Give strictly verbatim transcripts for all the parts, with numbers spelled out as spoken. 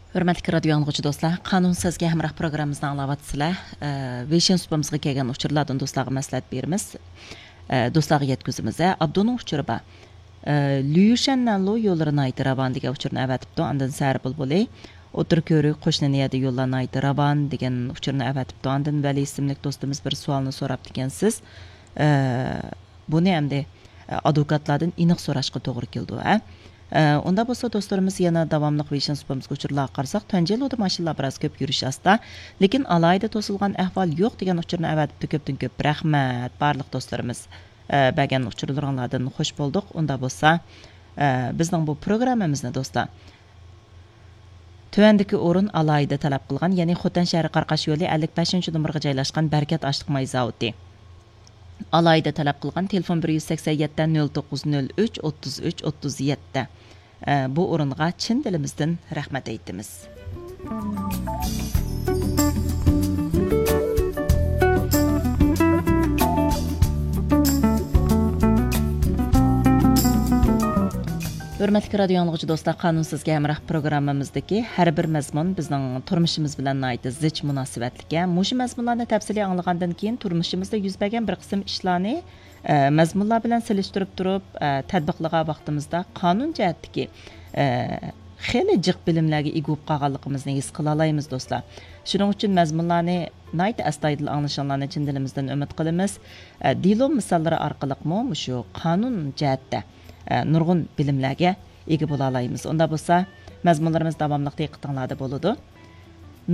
ھۆرمەتلىك رادىيو ئاڭلىغۇچى دوستلار، قانۇن سىزگە ھەمراھ پروگراممىمىزنى ئاڭلاۋاتىسىلەر. ئە، ۋېيشىن سۇپىمىزغا كەلگەن ئۇچۇرلاردىن دوستلارغا مەسلىھەت بېرىمىز. ئە، دوستلارغا يەتكۈزىمىز. ئە، ئابدۇنىڭ ئۇچۇرى بار. ئە، ليۇشەن نەنلۇ يوللىرى ناھايىتى راۋان دېگەن ئۇچۇرنى ئەۋەتىپتۇ. ئاندىن سەھەر بۇلبۇلى، ئوتتۇرا كۆۋرۈك، قوشنا نىيەدە يوللار ناھايىتى راۋان دېگەن ئۇچۇرنى ئەۋەتىپتۇ. ئاندىن ۋەلى ئىسىملىك دوستىمىز بىر سوئالنى سوراپتىكەنسىز. ئە، بۇنى ئەمدى، ئە، ئادۋوكاتلاردىن ئېنىق سوراشقا توغرا كېلىدۇ، ھە؟ ئە، ئۇنداق بولسا، دوستلىرىمىز يەنە داۋاملىق ۋېيشىن سۇپىمىزغا ئۇچۇرلارغا قارىساق، تۇەنجيەنلۇدا ماشىنىلار بىراز كۆپ يۈرۈش ئاستا، لېكىن ئالاھىدە توسۇلغان ئەھۋال يوق دېگەن ئۇچۇرنى ئەۋەتىپتۇ. كۆپتىن كۆپ رەھمەت، بارلىق دوستلىرىمىز. ئە، بەرگەن ئۇچۇرلىرىڭلاردىن خوش بولدۇق. ئۇنداق بولسا، ئە، بىزنىڭ بۇ پروگراممىمىزنى، دوستلار، تۆۋەندىكى ئورۇن ئالاھىدە تەلەپ قىلغان، يەنى خوتەن شەھىرى قاراقاش يولى ئەللىك بەشىنچى نومۇرغا جايلاشقان بەرىكات ئاشلىق ماي زاۋۇتى ئالاھىدە تەلەپ قىلغان. تېلېفون بىر يۈز سەكسەن يەتتە، نۆل توققۇز نۆل ئۈچ، ئوتتۇز ئۈچ، ئوتتۇز يەتتە. ئە، بۇ ئورۇنغا چىن دىلىمىزدىن رەھمەت ئېيتىمىز. ھۆرمەتلىك رادىيو ئاڭلىغۇچى دوستلار، قانۇن سىزگە ھەمراھ پروگراممىمىزدىكى ھەر بىر مەزمۇن بىزنىڭ تۇرمۇشىمىز بىلەن ناھايىتى زىچ مۇناسىۋەتلىك. مۇشۇ مەزمۇنلارنى تەپسىلىي ئاڭلىغاندىن كېيىن، تۇرمۇشىمىزدا يۈز بەرگەن بىر قىسىم ئىشلارنى، ئە، مەزمۇنلار بىلەن سېلىشتۇرۇپ تۇرۇپ، ئە، تەتبىقلىغان ۋاقتىمىزدا قانۇن جەھەتتىكى، ئە، خېلى جىق بىلىملەرگە ئىگە بولۇپ قالغانلىقىمىزنى ھېس قىلالايمىز، دوستلار. شۇنىڭ ئۈچۈن مەزمۇنلارنى ناھايىتى ئەستايىدىل ئاڭلىشىڭلارنى چىن دىلىمىزدىن ئۈمىد قىلىمىز. ئە، دېلو مىساللىرى ئارقىلىقمۇ مۇشۇ قانۇن جەھەتتە، ئە، نۇرغۇن بىلىملەرگە ئىگە بولالايمىز. ئۇنداق بولسا، مەزمۇنلىرىمىز داۋاملىق دىققىتىڭلاردا بولىدۇ.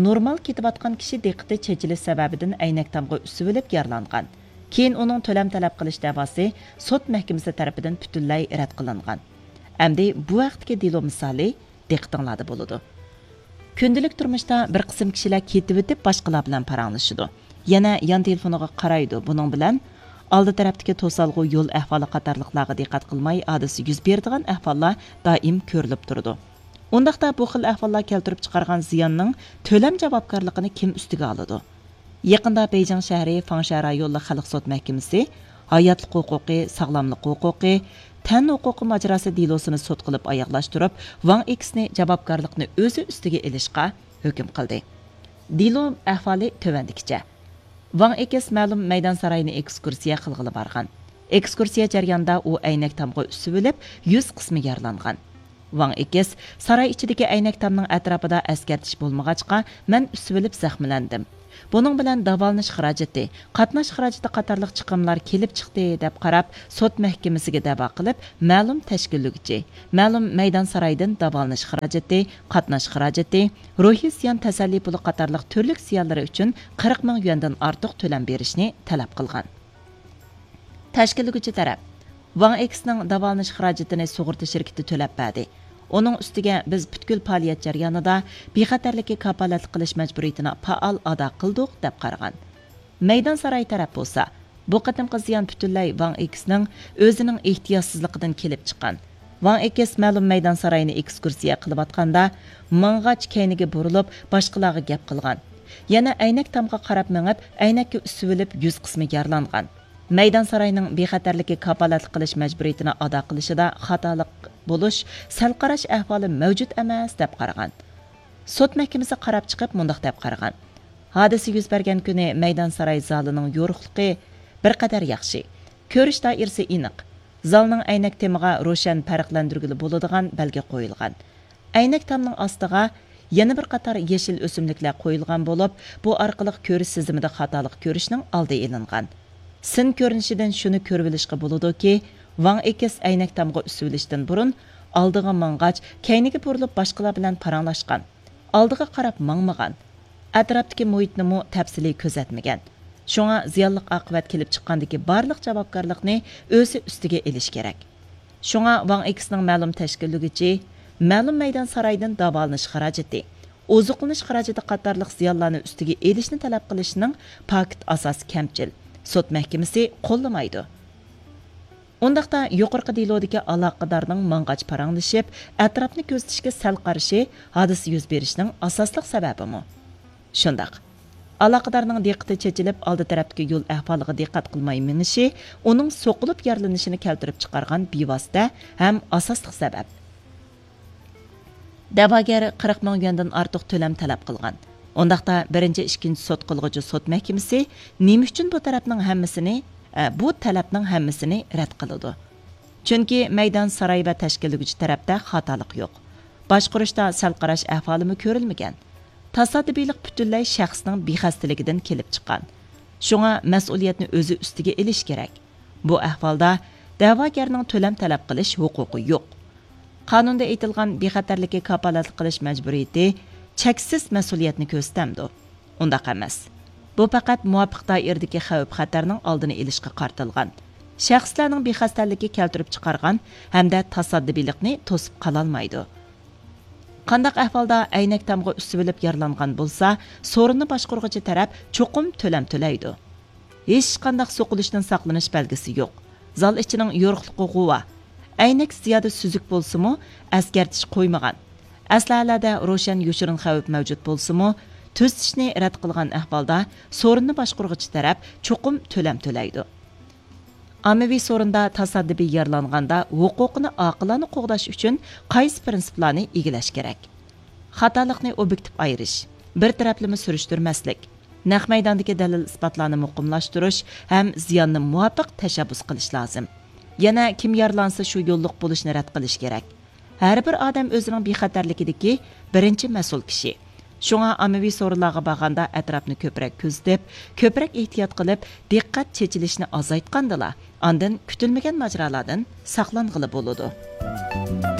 نورمال كېتىۋاتقان كىشى دىققىتى چېچىلىش سەۋەبىدىن ئەينەك تامغا ئۈسۈۋېلىپ يارىلانغان. كېيىن ئۇنىڭ تۆلەم تەلەپ قىلىش دەۋاسى سوت مەھكىمىسى تەرىپىدىن پۈتۈنلەي رەت قىلىنغان. ئەمدى بۇ ھەقتىكى دېلو مىسالى دىققىتىڭلاردا بولىدۇ. كۈندىلىك تۇرمۇشتا بىر قىسىم كىشىلەر كېتىۋېتىپ، باشقىلار بىلەن پاراڭلىشىدۇ. يەنە يان تېلېفونىغا قارايدۇ. بۇنىڭ بىلەن ئالدى تەرەپتىكى توسالغۇ، يول ئەھۋالى قاتارلىقلارغا دىققەت قىلماي، ھادىسە يۈز بېرىدىغان ئەھۋاللار دائىم كۆرۈلۈپ تۇرىدۇ. ئۇنداقتا بۇ خىل ئەھۋاللار كەلتۈرۈپ چىقارغان زىياننىڭ تۆلەم جاۋابكارلىقىنى كىم ئۈستىگە ئالىدۇ؟ يېقىندا بېيجىڭ شەھىرى فاڭشيا رايونلۇق خەلق سوت مەھكىمىسى ھاياتلىق ھوقۇقى، ساغلاملىق ھوقۇقى، تەن ھوقۇقى ماجىراسى دېلوسىنى سوت قىلىپ ئاياغلاشتۇرۇپ، ۋاڭ ئېكسنى جاۋابكارلىقنى ئۆزى ئۈستىگە ئېلىشقا ھۆكۈم قىلدى. دېلو ئەھۋالى تۆۋەندىكىچە. ۋاڭ ئېكس مەلۇم مەيدان سارايىنى ئېكسكۇرسىيە قىلغىلى بارغان. ئېكسكۇرسىيە جەريانىدا ئۇ ئەينەك تامغا ئۈسۈۋېلىپ، يۈز قىسمى يارىلانغان. ۋاڭ ئېكس، ساراي ئىچىدىكى ئەينەك تامنىڭ ئەتراپىدا ئەسكەرتىش بولمىغاچقا، مەن ئۈسۈۋېلىپ زەخىملەندىم. بۇنىڭ بىلەن داۋالىنىش خىراجىتى، قاتناش خىراجىتى قاتارلىق چىقىملار كېلىپ چىقتى، دەپ قاراپ، سوت مەھكىمىسىگە دەۋا قىلىپ، مەلۇم تەشكىللىگۈچى، مەلۇم مەيدان سارايدىن داۋالىنىش خىراجىتى، قاتناش خىراجىتى، روھىي زىيان تەسەللى پۇلى قاتارلىق تۈرلۈك زىيانلىرى ئۈچۈن قىرىق مىڭ يۈەندىن ئارتۇق تۆلەم بېرىشنى تەلەپ قىلغان. تەشكىللىگۈچى تەرەپ ۋاڭ ئېكسنىڭ داۋالىنىش خىراجىتىنى سۇغۇرتا شىركىتى تۆلەپ بەردى. ئۇنىڭ ئۈستىگە بىز پۈتكۈل پائالىيەت جەريانىدا بىخەتەرلىككە كاپالەتلىك قىلىش مەجبۇرىيىتىنى پائال ئادا قىلدۇق، دەپ قارىغان. مەيدان ساراي تەرەپ بولسا، بۇ قېتىمقى زىيان پۈتۈنلەي ۋاڭ ئېكسنىڭ ئۆزىنىڭ ئېھتىياتسىزلىقىدىن كېلىپ چىققان. ۋاڭ ئېكس مەلۇم مەيدان سارايىنى ئېكسكۇرسىيە قىلىۋاتقاندا، ماڭغاچ كەينىگە بۇرۇلۇپ، باشقىلارغا گەپ قىلغان. يەنە ئەينەك تامغا قاراپ مېڭىپ، ئەينەككە ئۈسۈۋېلىپ، يۈز قىسمى يارىلانغان. مەيدان ساراينىڭ بىخەتەرلىككە كاپالەتلىك قىلىش مەجبۇرىيىتىنى ئادا قىلىشىدا خاتالىق بولۇش، سەل قاراش ئەھۋالى مەۋجۇت ئەمەس، دەپ قارىغان. سوت مەھكىمىسى قاراپ چىقىپ، مۇنداق دەپ قارىغان: ھادىسە يۈز بەرگەن كۈنى مەيدان ساراي زالىنىڭ يورۇقلۇقى بىر قەدەر ياخشى. كۆرۈش دائىرىسى ئېنىق. زالنىڭ ئەينەك تېمىغا روشەن پەرقلەندۈرگىلى بولىدىغان بەلگە قويۇلغان. ئەينەك تامنىڭ ئاستىغا يەنە بىر قاتار يېشىل ئۆسۈملۈكلەر قويۇلغان بولۇپ، بۇ ئارقىلىق كۆرۈش سېزىمىدا خاتالىق كۆرۈشنىڭ ئالدى ئېلىنغان. سىن كۆرۈنۈشىدىن شۇنى كۆرۈۋېلىشقا بولىدۇكى، ۋاڭ ئېكس ئەينەك تامغا ئۈسۈۋېلىشتىن بۇرۇن ئالدىغا ماڭغاچ، كەينىگە بۇرۇلۇپ باشقىلار بىلەن پاراڭلاشقان. ئالدىغا قاراپ ماڭمىغان. ئەتراپتىكى مۇھىتنىمۇ تەپسىلىي كۆزەتمىگەن. شۇڭا زىيانلىق ئاقىۋەت كېلىپ چىققاندىكى بارلىق جاۋابكارلىقنى ئۆزى ئۈستىگە ئېلىش كېرەك. شۇڭا ۋاڭ ئېكسنىڭ مەلۇم تەشكىللىگۈچى، مەلۇم مەيدان سارايدىن داۋالىنىش خىراجىتى، ئوزۇقلىنىش خىراجىتى قاتارلىق زىيانلارنى ئۈستىگە ئېلىشنى تەلەپ قىلىشنىڭ پاكىت ئاساسى كەمچىل. سوت مەھكىمىسى قوللىمايدۇ. ئۇنداقتا يۇقىرىقى دېلودىكى ئالاقىدارنىڭ ماڭغاچ پاراڭلىشىپ، ئەتراپنى كۆزىتىشكە سەل قارىشى ھادىسە يۈز بېرىشنىڭ ئاساسلىق سەۋەبىمۇ؟ شۇنداق. ئالاقىدارنىڭ دىققىتى چېچىلىپ، ئالدى تەرەپتىكى يول ئەھۋالىغا دىققەت قىلماي مېڭىشى ئۇنىڭ سوقۇلۇپ يارىلىنىشىنى كەلتۈرۈپ چىقارغان بىۋاسىتە ھەم ئاساسلىق سەۋەب. دەۋاگەر قىرىق مىڭ يۈەندىن ئارتۇق تۆلەم تەلەپ قىلغان. ئۇنداقتا بىرىنچى، ئىككىنچى سوت قىلغۇچى سوت مەھكىمىسى نېمە ئۈچۈن بۇ تەرەپنىڭ ھەممىسىنى، ئە، بۇ تەلەپنىڭ ھەممىسىنى رەت قىلىدۇ؟ چۈنكى مەيدان، ساراي ۋە تەشكىللىگۈچى تەرەپتە خاتالىق يوق. باشقۇرۇشتا سەل قاراش ئەھۋالىمۇ كۆرۈلمىگەن. تاسادىپىيلىق پۈتۈنلەي شەخسنىڭ بىخەستىلىكىدىن كېلىپ چىققان. شۇڭا مەسئۇلىيەتنى ئۆزى ئۈستىگە ئېلىشى كېرەك. بۇ ئەھۋالدا دەۋاگەرنىڭ تۆلەم تەلەپ قىلىش ھوقۇقى يوق. قانۇندا ئېيتىلغان بىخەتەرلىككە كاپالەتلىك قىلىش مەجبۇرىيىتى چەكسىز مەسئۇلىيەتنى كۆرسىتەمدۇ؟ ئۇنداق ئەمەس. بۇ پەقەت مۇۋاپىق دائىرىدىكى خەۋپ-خەتەرنىڭ ئالدىنى ئېلىشقا قارىتىلغان. شەخسلەرنىڭ بىخەستەلىكى كەلتۈرۈپ چىقارغان ھەمدە تاسادىپىيلىقنى توسۇپ قالالمايدۇ. قانداق ئەھۋالدا ئەينەك تامغا ئۈسۈۋېلىپ يارىلانغان بولسا، سورۇننى باشقۇرغۇچى تەرەپ چوقۇم تۆلەم تۆلەيدۇ. ھېچقانداق سوقۇلۇشتىن ساقلىنىش بەلگىسى يوق. زال ئىچىنىڭ يورۇقلۇقى غۇۋا. ئەينەك زىيادە سۈزۈك بولسىمۇ، ئەسكەرتىش قويمىغان. ئەسلىھەلەردە روشەن يوشۇرۇن خەۋپ مەۋجۇت بولسىمۇ، تۈزىتىشنى رەت قىلغان ئەھۋالدا سورۇننى باشقۇرغۇچى تەرەپ چوقۇم تۆلەم تۆلەيدۇ. ئاممىۋى سورۇندا تاسادىپىي يارىلانغاندا ھوقۇقىنى ئاقىلانە قوغداش ئۈچۈن قايسى پىرىنسىپلارنى ئىگىلەش كېرەك؟ خاتالىقنى ئوبيېكتىپ ئايرىش، بىر تەرەپلىمە سۈرۈشتۈرمەسلىك، نەق مەيداندىكى دەلىل-ئىسپاتلارنى مۇقىملاشتۇرۇش ھەم زىياننى مۇۋاپىق تەشەببۇس قىلىش لازىم. يەنە كىم يارىلانسا شۇ يوللۇق بولۇشنى رەت قىلىش كېرەك. ھەر بىر ئادەم ئۆزىنىڭ بىخەتەرلىكىدىكى بىرىنچى مەسئۇل كىشى. شۇڭا ئاممىۋى سورۇنلارغا بارغاندا ئەتراپنى كۆپرەك كۆزىتىپ، كۆپرەك ئېھتىيات قىلىپ، دىققەت چېچىلىشنى ئازايتقاندىلا، ئاندىن كۈتۈلمىگەن ماجىرالاردىن ساقلانغىلى بولىدۇ.